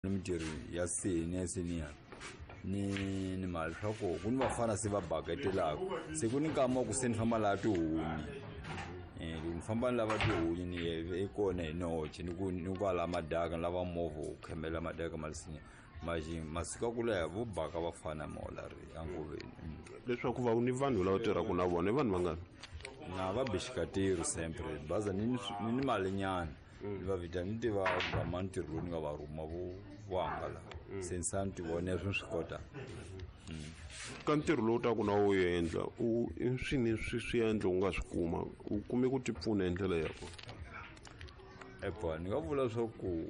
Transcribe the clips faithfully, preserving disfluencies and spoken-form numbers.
Ni mintirho ya seni ya seniya ni ni mali swa ku ku ni vafana se va baketelaka se ku ni nkama wa ku se ni famba laha tihunyi um loko ni famba ni lava tihunyi ni ye kona hi noxe ni ku ni kwala madaka ni lava movha wu khemela madaka ma lisinya maxi masiku ya ku leha vo baka vafana maolari angoveni. Leswaku va ni vanhu lava tirhaka na vona i vanhu vangani? Na va bixikatiro sempre baza ni ni ni malinyana ni va vita ni tiva gama ntirho lowu ni nga va rhuma vo vo hangala se ni sa ni ti vona swi swi kota. Ka ntirho lowu taku na wu endla u i swini swi swi endla u nga swi kuma u kume ku ti pfuna hi ndlela ya kona? Epa ni nga vula swa ku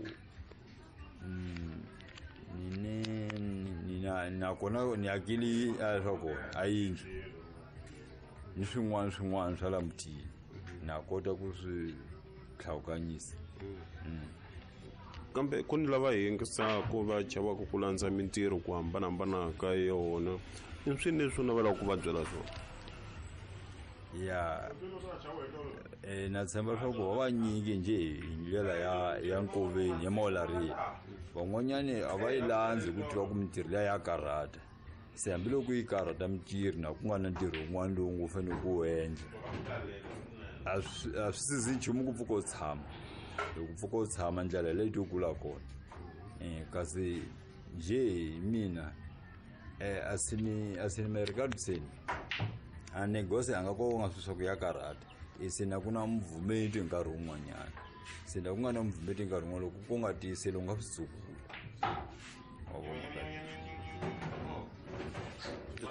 ni ne ni na nakona ni akile swa kona a yindlu ni swin'wana swin'wana swa la mutini na kota ku swi tlhawukanyisa. Kambe ku ni lava yingisaku va chavaka ku landza mintirho ku hambanahambana ka yona i swini leswi u navelaka ku va byela swona? Ya eh na tshemba leswaku va vanyingi njhe hi ndlela ya ya nkoveni ya maolariya van'wanyani a va yi landzi ku tiva ku mintirho liya ya karhata se hambiloko yi karhata mintirho na ku nga na ntirho wun'wana lowu ngo fanele ku wu endla a swi a swi sizi nchumu ku pfuka u tshama loko pfuka u tshama ndlela leyi to kula kona um kasi njhe hi mina um a si ni a si ni merikadiseni a negose a nga ko nga swi swa ku ya karhata e se na ku na muvhumeti hi nkarhi wun'wanyana se na ku nga na muvhumeti hi nkarhi wun'wana loko ku nga tiyiseli u nga swi tsukula wa vona.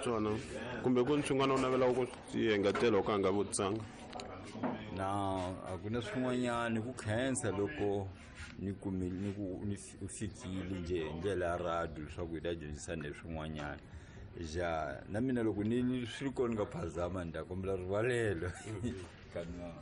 Swona kumbe ku ni swin'wana u navelaka ku swi engetela u ka nga vutisanga? Na a ku na swin'wanyani ku khensa loko ni kumile ni ku ni fikile njhe hi ndlela ya radio leswaku hi ta dyondzisana hi swin'wanyana ja na mina loko ni swi ri kona ni nga phazama ni ta kombela rivalelo ka mina.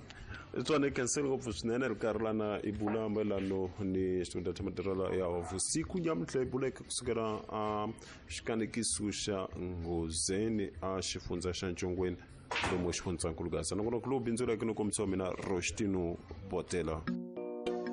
Tswana khenseli ngopfu swinene ri karhi lana i bula mayelano ni xitunda xa matirhelo ya vusiku nyamuntlha i buleke kusukela a xikanekiso xa Nghozeni a xifundza xa Ncongweni lomu xifundzankulu Gaza nakona ku lowu bindzuleke no kombisa wa mina Roshtino Botela.